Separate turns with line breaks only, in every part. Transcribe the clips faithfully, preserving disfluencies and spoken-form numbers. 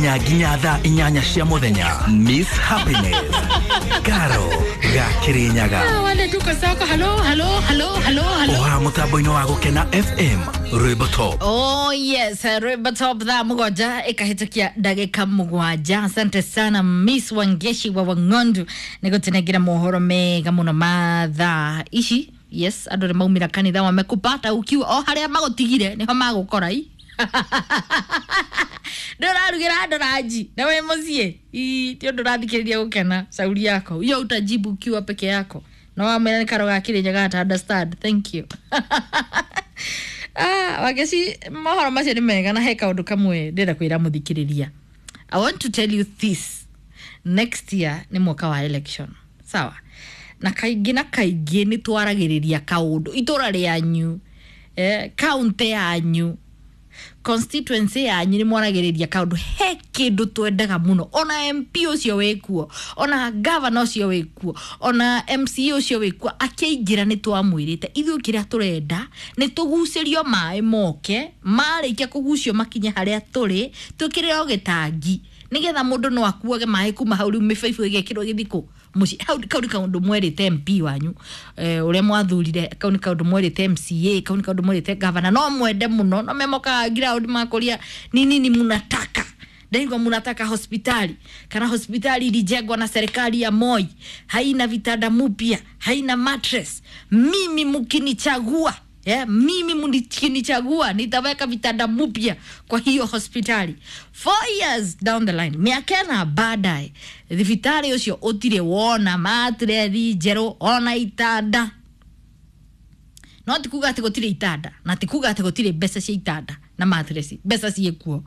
Nginya thaa inyanya cia muthenya. Miss Happiness Karo Gakirinyaga.
Wale tuko soko. Halo, halo, halo, halo, halo.
Oha mutambo-inĩ wa Gũkena F M, rwĩmbo top.
Oh yes, rwĩmbo top, thaa mũgwanja ĩkahĩtũkia ndagĩka mũgwanja. Asante sana Miss Wangeshi wa Wang'ondu nĩ gũtũnengera mohoro mega mũno ma thaa ici. Yes, andũ nĩ maumĩra kanitha, wamekupata ukiwa o harĩa magũtigire nĩho magũkora i ndũrarugĩra andũ ranji na wĩ mũciĩ. Ii, ti ũndũ ũrathikĩrĩria gũkena sauri yako hiyo utajibu ukiwa peke yako na wamwĩra nĩ karo ga Kĩrĩnyaga ata understand. Thank you. Ah, Wangeci, mohoro macio nĩ mega na he kaũndũ kamwe ndĩrenda kwĩra mũthikĩrĩria. I want to tell you this: next year nĩ mwaka wa election, sawa? Na kaingĩ na kaingĩ nĩ twaragĩrĩria kaũndũ itũra rĩanyu, eh, kaunti yanyu, constituency yanyu, nĩ mwaragĩrĩria kaũndũ he kĩndũ twendaga mũno, ona M P ũcio wĩkuo, ona governor ũcio wĩkuo, ona M C A ũcio wĩkuo akĩingĩra, nĩ twamwĩrĩte ithuĩ kĩrĩa tũrenda nĩ tũgucĩrio maĩ moke, marĩkia kũgucio makinye harĩa tũrĩ, twĩkĩrĩrwo gĩtangi nĩgetha mũndũ no akuage maĩ kuma hau. Rĩu mĩbaibũ ĩgekĩrwo gĩthikũ mũciĩ hau. Kau nĩ kaũndũ mwerĩte M P wanyu, eh, ũrĩa mwathurire. Kau nĩ kaũndũ mwerĩte M C A. Kau nĩ kaũndũ mwerĩte governor. No mwende mũno no memokaga ground makũria ni nini munataka. Ndaigua munataka hospitali, kana hospitali ilijengwa na serikali ya Moi, haina vitanda mupya, haina mattress. Mimi mkinichagua, yeah, mimi mkinichagua nitaweka vitanda mpya kwa hiyo hospitali. Four years down the line, miaka ĩna baadaye, thibitarĩ ũcio ũtirĩ wona matrethi njerũ ona itanda. No ti kuga atĩ gũtirĩ itanda na ti kuga atĩ gũtirĩ mbeca cia itanda na matresi, mbeca ciĩkuo.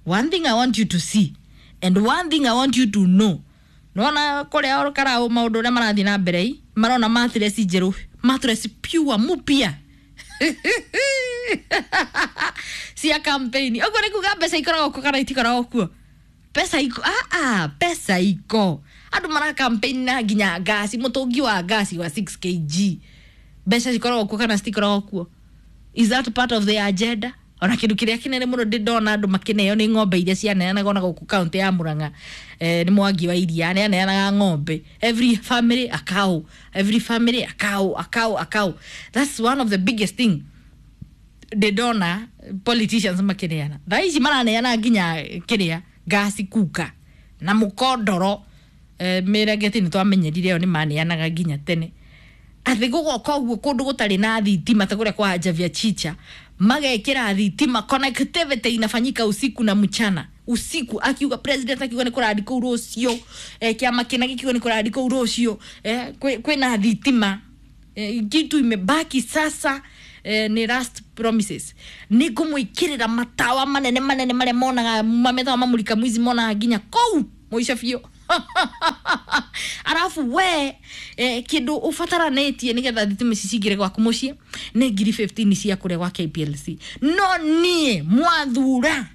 One thing I want you to see and one thing I want you to know, nona kũrĩa karau maũndũ ũrĩa marathiĩ na mbere i marona matresi njerũ, matresi pure mupya cia campaign. Ũguo nĩ kuga mbeca ikoragwo kuo kana itikoragwo kuo? Pesa iko. Ah, ah, pesa iko. Andũ mara campaign na nginya ngasi, mũtũngi wa ngasi wa six kilograms. Mbeca cikoragwo kuo kana citikoragwo kuo? Is that part of the agenda? Ona kindu kiria kinene muno ndi ndona andu makineo ni ng'ombe iria cianeanagwo na guku kaunti ya Murang'a, eh, ni Mwangi wa Iria ni aneanaga ng'ombe, every family a cow, every family a cow, a cow, a cow. That's one of the biggest thing ndĩ ndona politicians makineana. Thaa ici maraneana nginya kiria ngasi kuka na mũkondoro. eh, mĩrengeti nĩ twamenyerire ĩyo nĩ maneanaga nginya tene athĩ gũgoka ũguo kũndũ gũtarĩ na thitima ta kũrĩa kwa Javia Chicha magekĩra thitima. Connectivity inafanyika usiku na mchana. Usiku akiuga president, akiuga nĩ kũrandi kũu rũciũ, eh, kĩama kĩna gĩkiuga nĩ kũrandi kũu rũciũ, eh, kwĩna thitima. eh, kitu imebaki sasa, eh, ni last promises, nĩ ngũmwĩkĩrĩra matawa manene manene marĩa monaga mamethawa mamulika mwizi, monaga nginya kũu mũico biũ. Arabu we, eh, kindu ubataranĩtie nĩgetha thitima ici cingĩre gwaku mũciĩ nĩ ngiri fifteen cia kũrĩa gwa K P L C. No niĩ mwathura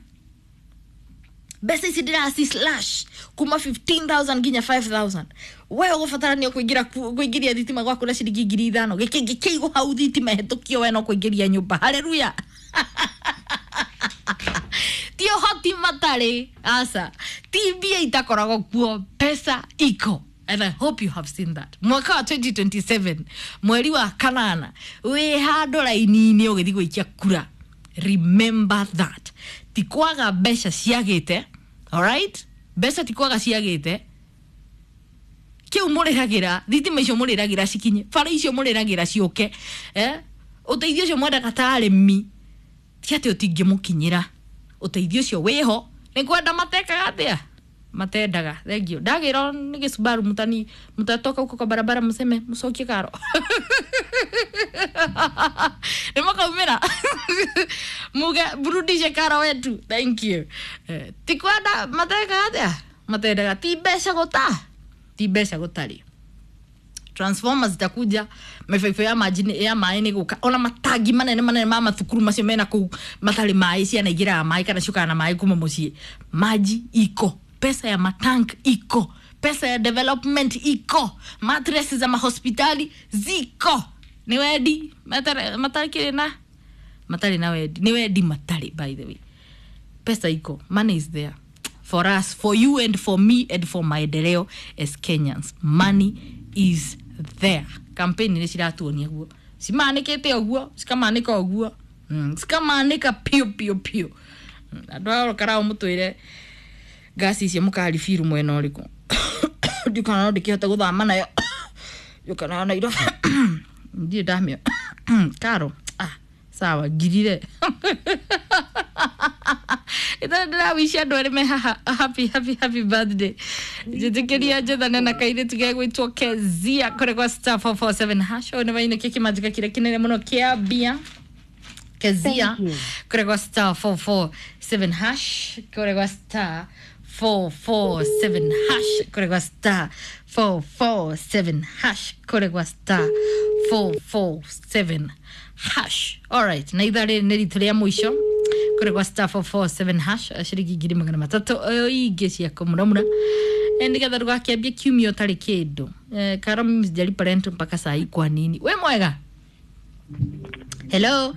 mbeca ici ndĩraci slash kuma fifteen thousand nginya five thousand. We ũgũbatarania kũingĩra kũingĩria thitima gwaku na ciringi ngiri ithano. Gĩkĩngĩ kĩigwo hau, thitima ĩhetũkio, we no kũingĩria nyũmba. Haleluya! Ti ũhoti matarĩ, aca, ti mbia itakoragwo kuo, pesa iko. And I hope you have seen that. Mwaka wa twenty twenty-seven mweri wa kanana wĩ handũ raini-inĩ ũgĩthiĩ gũikia kura, remember that ti kwaga mbeca ciagĩte. Alright, mbeca ti kwaga ciagĩte. Kiu mũrĩhagĩra thitima icio, mũrĩragĩra cikinye, bara icio mũrĩragĩra ciũke, eh? Ũteithio ũcio mwendaga ta arĩmi, ti atĩ ũtingĩmũkinyĩra. Ũteithio ũcio wĩho, nĩ kwenda matekaga atĩa matendaga. Thengio. Ndagĩrwo nĩ gĩcubaru mutani mutatoka huko kwa barabara mseme mcokie karo nĩ makaumĩra muge mrudishe karo wetu. Thank you. Eh, ti kwenda matekaga atĩa matendaga, ti mbeca gũta ti mbeca gũtarĩ. Transformers zitakuja, mĩbaibũ ya maji nĩ- ya maĩ nĩ gũka, ona matangi manene manene ma mathukuru macio mena kũu matarĩ maĩ, ciana igĩraga maĩ kana ciũkaga na maĩ kuma mũciĩ. Maji iko, pesa ya matank iko, pesa ya development iko, matresi za mahospitali ziko. Nĩ wendi matarĩ matarĩ na matarĩ na wendi, nĩ wendi matarĩ. By the way, Pesa iko, money is there for us, for you and for me and for maendeleo as Kenyans. Money is there. Campaign nä ciratuonia guo, cimanä te å cikamanä ka å guo, cikamanä ka piå piå piå. Andå a karao må twä re ngasi icio må karibiru mwena å rä kå ndikana no ndä kä hote gå thama nayo yåkana Nairobi ndirä ndamä karo. Ah, sawa, ngirire ithaa ndĩrawici andũ erĩ me haha happy happy happy birthday. Njĩtĩkĩria njethane na kairĩtu gegwĩtwo Kezia kũrĩ gwa star four four seven hash. Ũyũ nĩ wainũkia kĩmanjĩka kĩrĩa kĩnene mũno kĩa mbia. Kezia kũrĩ gwa star four four seven hash, kũrĩ gwa star four four seven hash, kũrĩ gwa star four four seven hash, kũrĩ gwa star four four seven hash. Alright, na ithaa rĩrĩ nĩ ritũ rĩa mũico kũrĩ gwa star four four seven hash, ciringi ngiri magana matatũ ingĩ cia kũmuramura nĩgetha ndũgakĩambie kiumia ũtarĩ kĩndũ. Eh, karo mimi sijalipa rent mpaka saa hii, kwa nini? We mwega? Hello.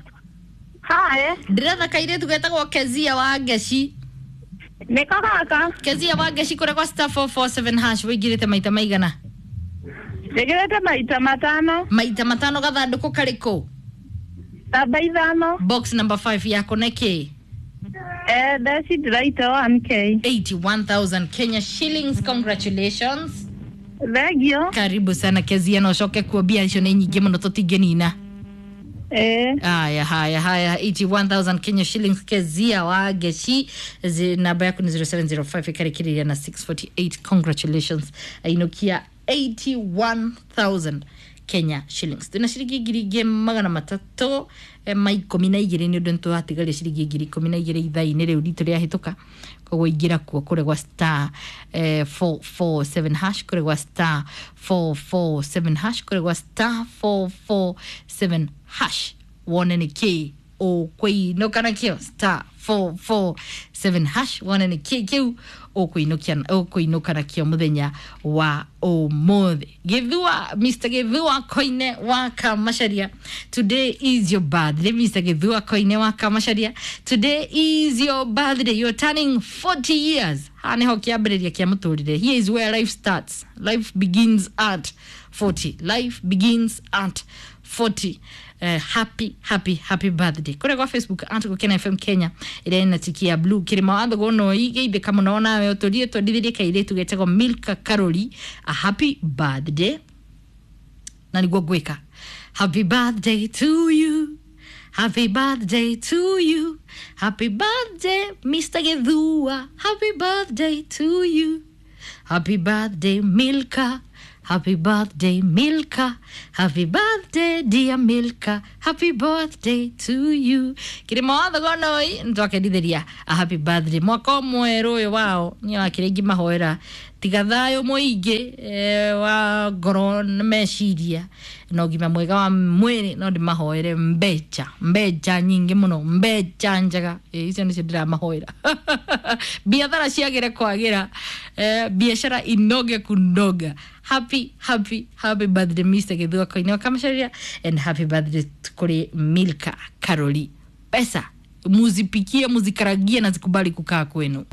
Hi.
Ndĩretha kairĩtu getagwo Kezia wa Ngeci.
Nĩko gaka.
Kezia wa Ngeci kũrĩa kwa star four four seven hash, wĩingĩrĩte maita maigana?
Njĩkĩrĩte maita matano.
Maita matano. Gathandũkũ karĩkũ?
Namba ithano.
Box number five yako nĩkĩ?
Eh, ndecindĩra one K.
eighty-one thousand Kenya shillings. Congratulations.
Thengio.
Karibu sana Kezia, na ũcoke kuo mbia icio nĩ nyingĩ mũno tũtingĩnina.
Eh.
Haya, haya, haya, eighty-one thousand Kenya shillings, Kezia wa Ngeci. Namba yaku ni zero seven zero five ĩkarĩkĩrĩria na six forty-eight. Congratulations, ainũkia eighty-one thousand Kenya shillings. Twĩna ciringi ngiri ingĩ magana matatũ eh, ma ikũmi na igĩrĩ nĩ ũndũ nĩtũratigaria ciringi ngiri ikũmi na igĩrĩ ithaa-inĩ rĩu ritũ rĩahĩtũka. Koguo ingĩra kuo kũrĩ gwa star eh, four four seven hash, kũrĩ gwa star four four seven hash, kũrĩ gwa star four four seven hash, wone nĩ kĩ ũkũinũka nakĩo. Star four four seven hash, wone nĩ kĩ kĩu ũkũinũkia ũkũinũka nakĩo mũthenya wa ũmũthĩ. Gĩthua, Mister Gĩthua Koine wa Kamacharia, today is your birthday. Mister Gĩthua Koine wa Kamacharia, today is your birthday. You're turning forty years. Haha nĩho kĩambĩrĩria kĩa mũtũrĩre. Here is where life starts. Life begins at forty. Life begins at forty. Uh, happy happy happy birthday. Kũrĩa gwa Facebook at Gũkena F M Kenya ĩrĩa ĩna tiki ya blue, kĩrĩma wa Thogono igeithĩka mũno nawe ũtũrie twendithĩrie kairĩtu getagwo Milka Karori a happy birthday, na nĩguo ngwĩka happy birthday to you, happy birthday to you, happy birthday Mister Gĩthua, happy birthday to you, happy birthday Milka, happy birthday Milka, happy birthday dear Milka, happy birthday to you. Kĩrĩma wa Thogonoi nĩtwakendithĩria a happy birthday mwaka mwerũ ũyũ wao. Niĩ wakĩrĩa ingĩmahoera tiga thayũ mũingĩ eh, wa ngoro na meciria na ũgima mwega wa mwĩrĩ, no ndĩmahoere mbeca, mbeca nyingĩ mũno, mbeca njega. Eh, icio nĩcio ndĩramahoera, biathara ciagĩre kwagĩra, eh, biacara inoge kunoga. Happy happy happy birthday Mister Gĩthua Koine wa Kamacharia, and happy birthday kũrĩ Milka Karoli. Pesa muzipikie, muzikaragie na zikubali kukaa kwenu.